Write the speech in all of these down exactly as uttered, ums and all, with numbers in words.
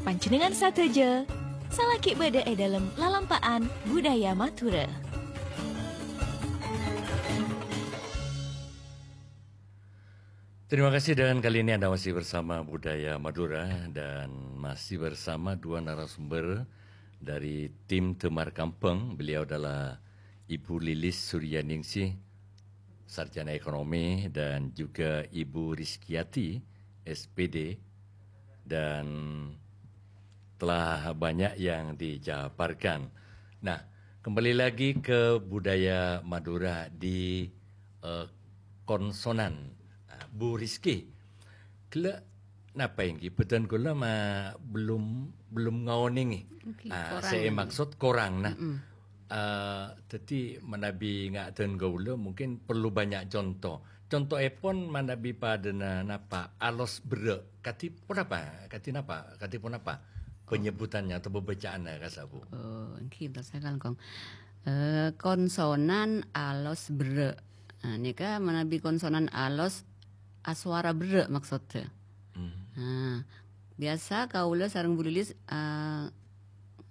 Panjhennengngan sadhâjâ, salaghi bâdâ è dâlem lalampa'an budaya Madhurâ. Terima kasih, dan kali ini Anda masih bersama Budaya Madura dan masih bersama dua narasumber dari tim Damar Kampeng. Beliau adalah Ibu Lilis Suryaningsih, sarjana ekonomi, dan juga Ibu Rizkyati, S P D, dan telah banyak yang dijabarkan. Nah, kembali lagi ke budaya Madura di, eh, konsonan. Nah, Bu Rizky, ghellâ' napa èngghi? Bâdân kaulâ ma-, belum, belum ngaonèngè. Èngghi, ah, korang. Sè èmaksud korang. Nah, mm-mm. Eh, dhâddhi manabi nga'dhân kaulâ mungkin perlu banyak conto. Contoèpon manabi padâna napa? Alos berrâ'. Kadhi ponapa? Kadhi napa? Kadhi ponapa penyebutannya atau pembacaannya, kassa', Bu? Oh, èngghi, entar saya kalangkong. Eh, konsonan alos berrâ'. Nah, nèka manabi konsonan alos aswara berrâ' maksoddhâ. Hmm. Nah, biasa kaulâ sareng Bu Lilis, eh,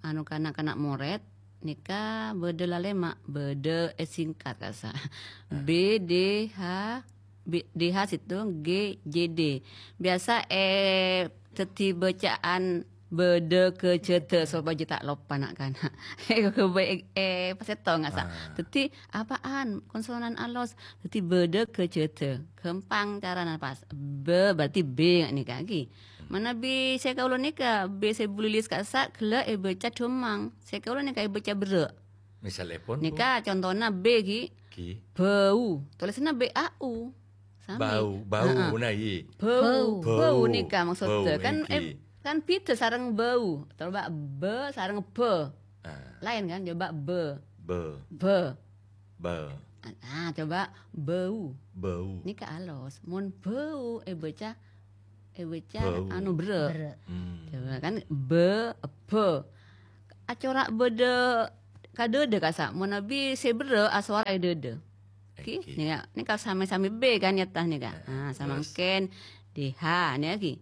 anu, kana'-kana' morèd, nèka bâdâ lalèma', bâdâ èsingkat kassa'. Ah. B D H, B-, D H sèttong, G J D. Biasa, eh, dhâddhi bâcaan bâdâ ghâjâdhâ sopajâ ta' loppa na'-kana'. Eh, eh, pas sèttong kassa'. Ah. Dhâddhi, apaan? Konsonan alos. Dhâddhi bâdâ ghâjâdhâ. Ghâmpang carana pas. Bâ, berarti B nèka ghi. Manabi sè kaulâ nèka, B sè Bu Lilis kassa' ghellâ' èbâca dhâmmang. Sè kaulâ nèka èbâca berrâ'. Misalèpon, Bu? Nèka contona B ghi. Ghi. Bâu. Tolèsanna B A U. Sami. Bau, bau, heeh. Nah, iya. Bâu. Bâu. Bâu. Bâu nèka maksoddhâ. Bâu, kan, èngghi. Eh, kan bhidhâ sareng bâu. Coba bâ sareng bâ. Ah. Laèn kan? Coba bâ. Bâ. Bâ. Bâ. Ah, coba bâu. Bâu. Nèka alos. Mon bâu èbâca, èbâca bâu. Anu, berrâ'. Berrâ'. Hmm. Coba kan, bâ, bâ. Acora' bâdâ kadâdâ kassa'. Manabi sè berrâ' aswara è dâdâ. Ghi, èngghi. Nèka, nèka sami-sami B kan nyata nèka. Heeh, ah, terus? Samangkèn D H nèka ghi.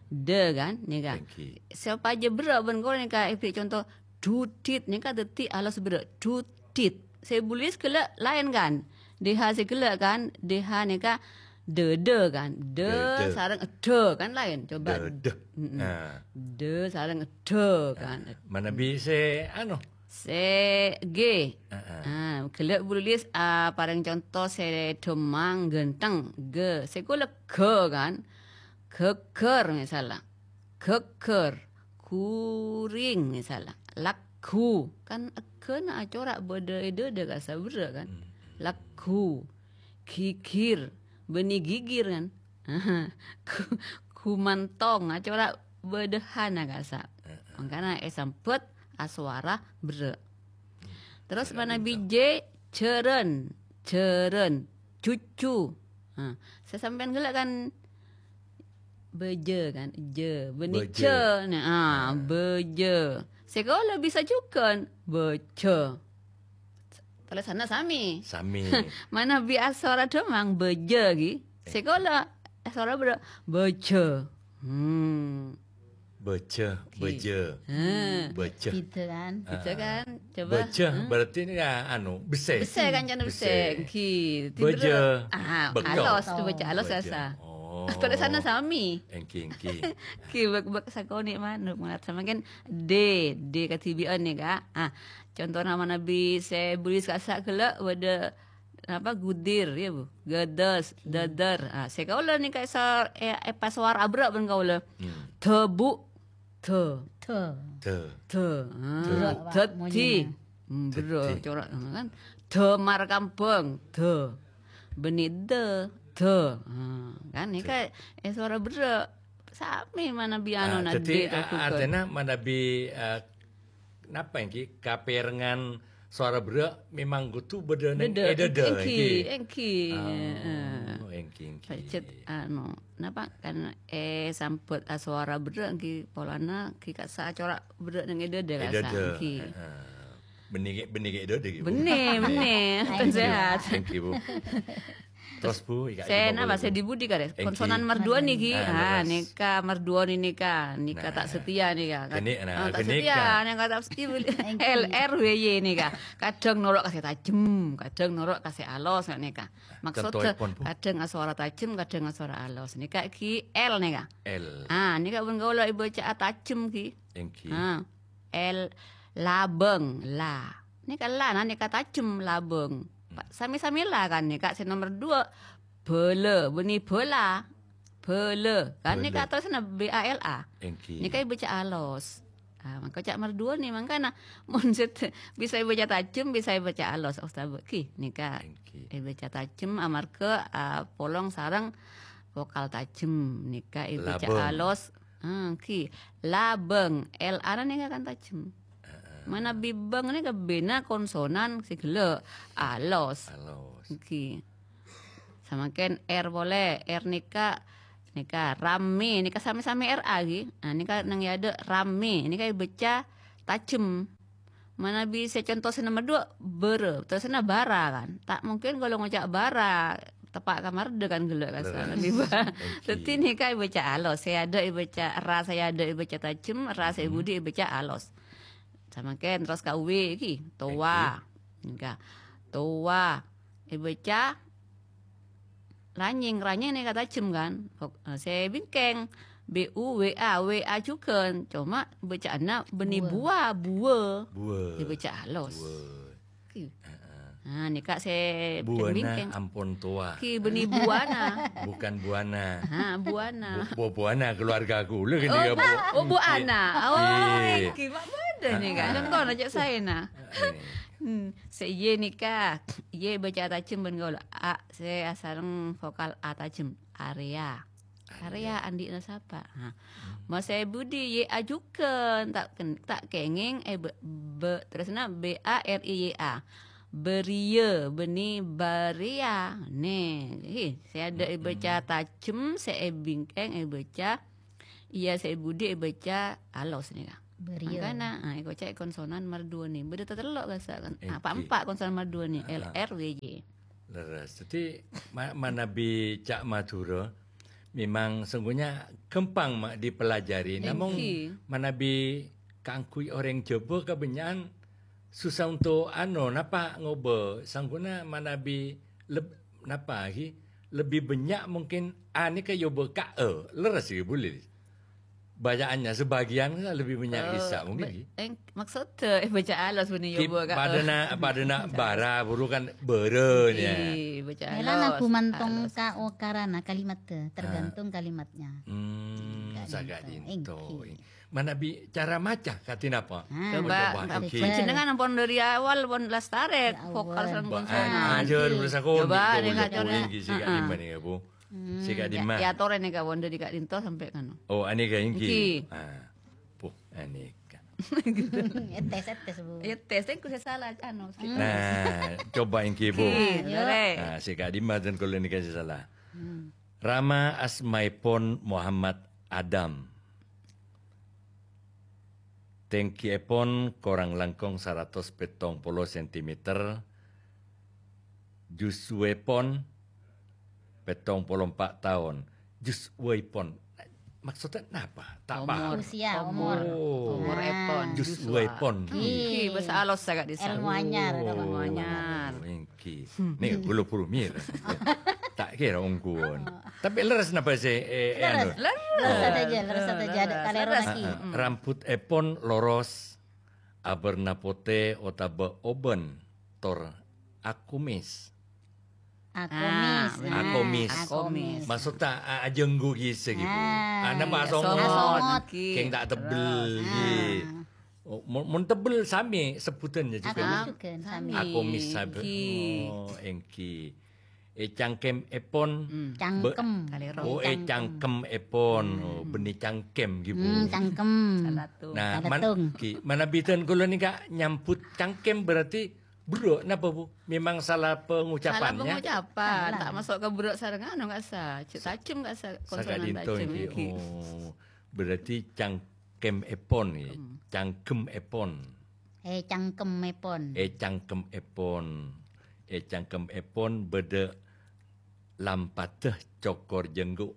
Dâ kan nèka. Èngghi. Sopajâ berrâ' bân kaulâ nèka èbhiri conto dudit nèka dhâddhi alos berrâ'. Dudit. Sè Bu Lilis ghellâ' laèn kan. D H sè ghellâ' kan. D H nèka dâdâ kan. Dâ dâdâ sareng dâ kan laèn. Coba. Dâdâ. Mm-mm. Ah. Dâ sareng dâ kan. Ah. Manabi sè anu, sè G. Heeh. Ah, ghellâ' Bu Lilis, ah, parèng conto sè dhâmmang ghântheng, G. Sè kaulâ ghâ kan. Ghâghâr, misalla. Ghâghâr. Ghuring, misalla. Lagghu. Kan èghâna acora' bâdâ è dâdâ kassa' berrâ' kan. Hmm. Lagghu. Ghighir. Bânnè ghighir kan. Ghu-, ghumantong, acora' bâdâ hana kassa'. Heeh. Mangkana èsambhât aswara berrâ'. Terros manabi J, jhârân, jhârân, cucu. Nah, sè sampèyan ghellâ' kan bâjâ kan, jâ. Bânnè jâ. Nah, ah, bâjâ. Sè kaulâ bisa jhughân, bâjâ. Tolèsanna sami. Sami. Manabi aswara dhâmmang, bâjâ ghi. Sè kaulâ aswara berrâ', bâjâ. Hmm. Bâjâ, oke. Bâjâ. Hmm. Bâjâ. Bhidhâ kan? Bhidhâ kan? Coba. Bâjâ, hmm, berarti ini ya, anu, bessè. Bessè kan, jhâ' bessè. Bessè. Èngghi. Bâjâ. Ah, beko. Alos, bâjâ alos. Bâjâ. Biasa. Oh. Tolèsanna sami. Èngghi, èngghi. Èngghi, bek-, bek sakonè' manuk, mangkat samangkèn D, D kadhibi'ân nèka. Ah, contona manabi sè Bu Lilis kassa' ghellâ' bâdâ napa, gudir, ya, Bu? Gâdâs, dâdâr. Ah, sè kaulâ nèka èsa-, è-, èpaswara berrâ' bân kaulâ. Hmm. Dâbu', dâ. Dâ. Dâ. Dâ. Ah, berrâ', Pak, dhâddhi. Monyèna. Hmm, berrâ', dhâddhi. Cora' kan. Damar kambhâng, dâ. Bânnè dâ, dâ. Ah, kan nèka èswara berrâ'. Sami manabi anu, ah, na, dhâddhi, D, a-, gugur. Artèna manabi, eh, napa èngghi? Kapèrengngan sowara berrâ' memang kodhu bâdâ neng è dâdâ, èngghi, èngghi. Oh, èngghi, èngghi. Pajhât, anu, napa, kan, eh, sambhât asowara berrâ' èngghi polana èngghi kassa' acora' berrâ' neng è dâdâ, kassa', èngghi. Heeh. Bânnè kè', bânnè kè' è dâdâ, èngghi, Bu? Bânnè, bânnè. Èngghi, sehat. Èngghi, Bu. Terros, Bu, Ika, sè napa, sè di budi karè? Èngghi. Konsonan merduo nèka. Ah, leres. Nèka merduo nèka. Nèka ta' setia nèka. Nah, ghânèka, nah, ta' setia, nèka ta' setia. Èngghi. L R W Y nèka. Kadhâng noro' ka sè tajem, kadhâng noro' ka sè alos nèka. Maksod, contohèpon, Bu? Kadhâng aswara tajem, kadhâng aswara alos. Nèka ghi L nèka. L. Ah, nèka bân kaulâ èbâca'a tajem ghi. Èngghi. Ah. L, labâng, la. Nèka la, nah, nèka tajem, labâng. Hmm. Sami-sami la kan nèka sè nomer dua. Bâlâ, bânnè bâla. Bâlâ. Kan nèka terrosna B A L A. Èngghi. Nèka èbâca alos. Ah, mangka ca' merduo nè, mangkana mon sè bisa èbâca tajem, bisa èbâca alos. Oh, sabâ' ghi, nèka. Èngghi. Èbâca tajem amarghâ, ah, polong sareng vokal tajem. Nèka èbâca alos. Ah, ghi. Labâng. L A-na nèka kan tajem. Heeh. Manabi bâng nèka B-na konsonan sè ghellâ'. Alos. Alos. Ghi. Samangkèn R polè. R nèka, nèka ramè. Nèka samè-samè R A ghi. Nah, nèka neng è adâ' ramè. Nèka èbâca tajem. Manabi sè conto sè nomer dua, bârâ. Terrosna bara kan. Ta' mungkin kaulâ ngoca' bara, teppa' ka mardhâ kan ghellâ' kasa. Leres. Lebih ba-, èngghi. Dâddhi nèka èbâca alos. Sè adâ' èbâca ra, sè adâ' èbâca tajem, ra sè budi èbâca alos. Samangkèn terros ka W ghi, towa. Èngghi. Nèka. Towa. Èbâca ranyèng, ranyèng nèka tajem kan? Fok-, eh, sè bingkèng, B U W A, W A jhughân. Coma bâca'anna bânnè bua, bua. Bua. Èbâca alos. Bua. Ki. Heeh. Nah, nèka sè bingkèng. Buana ampon towa. Ki bânnè buana. Bukan buana. Ha, buana. Bu-, bu-, buana keluarga kaulâ kan. Oh, ya, Bu. Bu-, oh, Bu Ana. Oh, iya. Ki, mak bâdâ nèka. Heeh. Contohna cè' saèna. Iya. Hmm, sè Y nèka. Y èbâca tajem bân kaulâ. A, sè asareng vokal A tajem. Area. Area. Area andi'na sapa? Ha. Hmm. Mon sè budi Y A jhughân, ta' ken-, ta' kèngèng, eh, be-, be-, terrosna B A R I Y A. Bâriyâ, bânnè bâriyâ. Nè, hi, sè adâ' èbâca tajem, sè è bingkèng èbâca, iyâ, sè è budi èbâca alos nèka. Bâriyâ. Mangkana, ah, èkoca' konsonan merduo nè. Bâdâ tatello' kasa kan. Èngghi. Apa empa' konsonan merduo nè? Ah. L R W Y. Leres. Dâddhi, ma-, manabi ca' Madhurâ, memang sungguhnya ghâmpang ma' dipelajari. Èngghi. Namong manabi kaangghuy orèng Jhâbâ kabânnya'an susah untuk, ano, napa ngobâ. Sangghuna manabi leb-, napa ghi? Lebbi bânnya' mungkin A nèka èobâ ka E. Leres ghi, Bu Lilis? Bacaannya sebagian kan lebih banyak bisa, mungkin, eh, ghi. Eng-, maksudnya, eh, baca alos bânnè, ki, èobâ ka, padâna, padâna bara, buru kan bârâ, ya. Ghi, baca alos. Mèla na ghumantong ka okarana kalimat, tergantung kalimatnya. Hmm, saka'dinto. Èngghi. Manabi cara maca kadhi napa? Ah, coba, coba, èngghi. Jenengan pon dari awal, pon lastarè, vokal sareng konsonan. Aja, coba, nèka, coba. Èngghi, sè ka'dimma nèka, Bu. Hmm. Sè ka'dimma. Ya, ya, atorè nèka, wonten dâri ka'dinto sampè' kano. Oh, anèka èngghi. Èngghi. Ah, puh, anèka. Ètes, ètes, Bu. Ètes, èngko' sè sala, ano, sè. Nah, coba èngghi, Bu. Èngghi, ayo. Nah, sè ka'dimma dân kaulâ nèka sè sala. Hmm. Rama asmaèpon Muhammad Adam. Tèngghiyèpon korang langkong saratos pèttong polo sentimeter, juzwèpon pèttong polo empa' taon. Juzwèpon. Maksudnya napa? Ta' paham. Usia, umur. Oh. Umur èpon. Juzwèpon. Ghi. Ghi, bhâsa alos sè ka'dissa'. Èlmo anyar. Oh, èlmo anyar. Èngghi. Nèka, buru-buru mir. Ta' kèra ongghuwân. Tapè lerres napa sè, eh, eh, anu? Lerres. Lerres. Lerres saja, lerres saja. Lerres. Kalèro lagi. Ah, ah. Rambut èpon loros, abârna potè otabâ oban, tor akumis. Akumis. Ah, nah, akumis. Akumis. Maksudnya, a-, ajânggu ghi sè ghi, Bu. Ah. Ana pas songot. Songot. Kèng ta' tebbel ghi. Ah. Oh, mon, mon tebbel sami sebutannya juga. Akumis juga, sami. Akumis sabi. Èngghi. Oh, èngghi. Eh, cangkem èpon. Hmm. Cangkem. Kalèro. Oh, eh, cangkem èpon. Hmm. Oh, bânnè cangkem ghi, Bu. Hmm, cangkem. Salah tuh. Nah, salah man-, tuh. Ghi, manabi dân kaulâ nèka nyambut cangkem berarti berrâ', napa, Bu? Memang salah pengucapannya? Salah pengucapan. Salah. Ta' maso' ka berrâ' sareng anu, ka'dissa'. Cè' tajem, ka'dissa', konsonan tajem, èngghi. Saka'dinto, èngghi. Oh, berarti cang-, Cangkem èpon, ya. Hmm. Cangkem èpon. Eh, cangkem èpon. Eh, cangkem èpon. Eh, cangkem èpon bâdâ Lampadhâ cokor jenggu.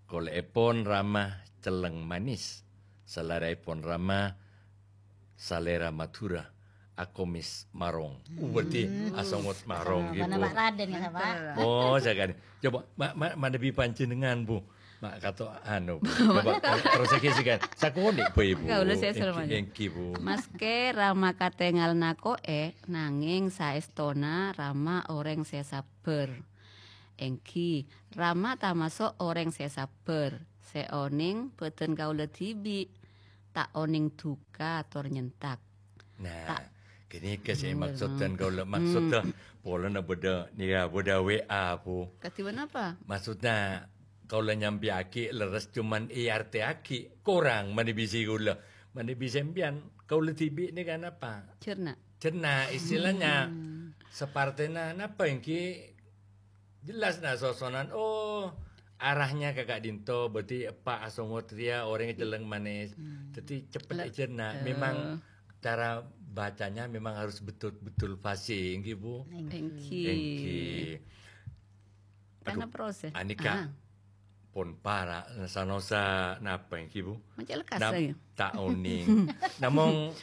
Kolè'èpon rama celleng manis. Salèraèpon rama salèra Madhurâ, akomis marong. Uh, berarti asongot marong, Pak Raden, ya, Pak? Oh, sakali. Coba, ma-, ma-, manabi panjenengan, Bu. Ma' kato anu, Bu. Coba, terus lagi sih, kan. Sakonè', Bu, Ibu. Kaulâ sè Èngghi, èngghi, Bu. Maskè rama katèngal nako'è, nangèng saèstona rama orèng sè sabbhâr. Èngghi, rama tamaso' orèng sè sabbhâr, sè onèng bâdân kaulâ dhibi', ta' onèng duka tor nyentak. Nah, ghânèka sè maksod dhân kaulâ. Maksodda, polana bâdâ, nèka bâdâ W A, Bu. Kadhi ponapa? Maksodda, kaulâ nyampèyaghi lerres, cuman èartèyaghi korang manabi sè kaulâ. Manabi sampèyan, kaulâ dhibi' nèka napa? Cerna. Cerna, istilahnya. Sapartèna napa èngghi? Jelas, nah, sosonan, oh, arahnya ka ka'dinto, berarti eppa' asongot rèya orèng celleng manis. Dhâddhi cepet ècerna. Memang cara bacanya memang harus betul-betul fasih, èngghi, Bu? Èngghi. Èngghi. Karena proses. Anèka pon para', sa-, sa-, napa èngghi, Bu? Maca lekas. Ta' onèng. Namong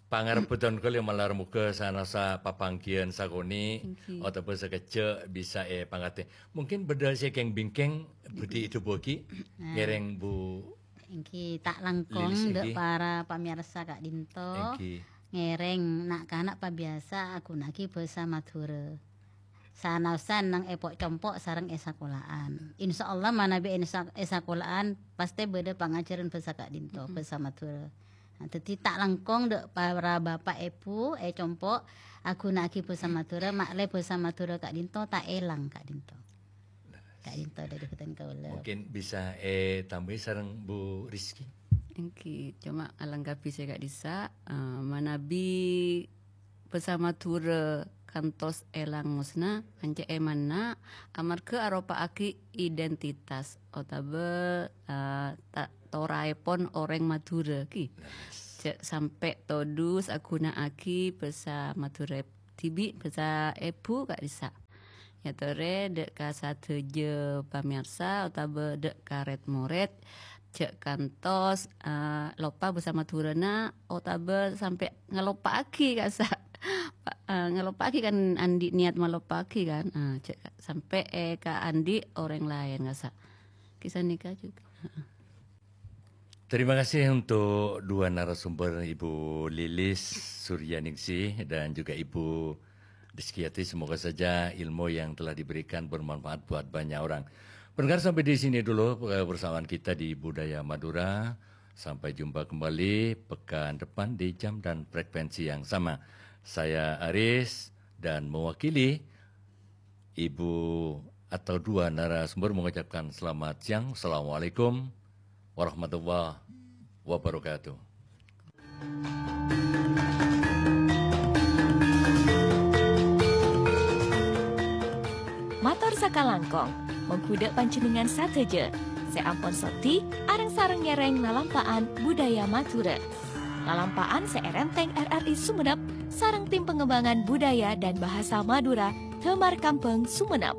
pangarebbhâ dhân kaulâ malar moghâ sa-, sa-, papangghiyân sakonè' otabâ sakejjhâ' bisa èpangartè. Mungkin bâdâ sè kèng-bingkèng bhâdhi èdhâbuwâghi ngèrèng Bu. Èngghi, ta' langkong dâ' para pamèyarsa ka'dinto. Èngghi. Ngèrèng na'-kana' pabiyasa aghuna'aghi bhâsa Madhurâ. Sanaosan neng è po'-compo' sareng è sakola'an. Insyaallah manabi è sa-, è sakola'an pastè bâdâ pangajhârân bhâsa ka'dinto, bhâsa Madhurâ. Nah, dhâddhi ta' langkong dâ' para bapa' èbhu è compo' aghuna'aghi bhâsa Madhurâ, ma'lè bhâsa Madhurâ ka'dinto ta' èlang ka'dinto. Ka'dinto dâri bhâdhân kaulâ. Mungkin bisa ètambâi sareng Bu Rizky. Èngghi, coma alengkabhi sè ka'dissa', eh, manabi bhâsa Madhurâ kantos èlang ngosna, ancè' èmanna, amarghâ aropa'aghi identitas otabâ, eh, ta-, toraèpon orèng Madhurâ, ghi. Jhâ' sampè' todus aghuna'aghi bhâsa Madhurâ dhibi', bhâsa èbhu ka'dissa'. Èyatorè dâ' ka sadhâjâ pamèyarsa otabâ dâ' ka rèd-morèd, jhâ' kantos, eh, loppa bhâsa Madhurâna otabâ sampè' ngaloppa'aghi ka'issa'. Pa-, eh, ngaloppa'aghi kan andi' niat maloppa'aghi kan. Ah, jhâ' sampè' è ka andi' orèng laèn ka'issa'. Ghi sanèka jhughân. Terima kasih untuk dua narasumber, Ibu Lilis Suryaningsih dan juga Ibu Rizkiyati. Semoga saja ilmu yang telah diberikan bermanfaat buat banyak orang. Pendengar, sampai di sini dulu, eh, persamaan kita di Budaya Madura. Sampai jumpa kembali pekan depan di jam dan frekuensi yang sama. Saya Aris dan mewakili Ibu atau dua narasumber mengucapkan selamat siang. Assalamualaikum warahmatullahi wabarakatuh. Mator sakalangkong, mongghu dâ' panjhennengngan sadhâjâ sè ampon soddhi areng-sareng ngèrèng lalampa'an budaya Madhurâ. Lalampa'an sè èrèntèng R R I Sumenep sareng Tim Pengembangan Budaya dan Bahasa Madura, Damar Kambang, Sumenep.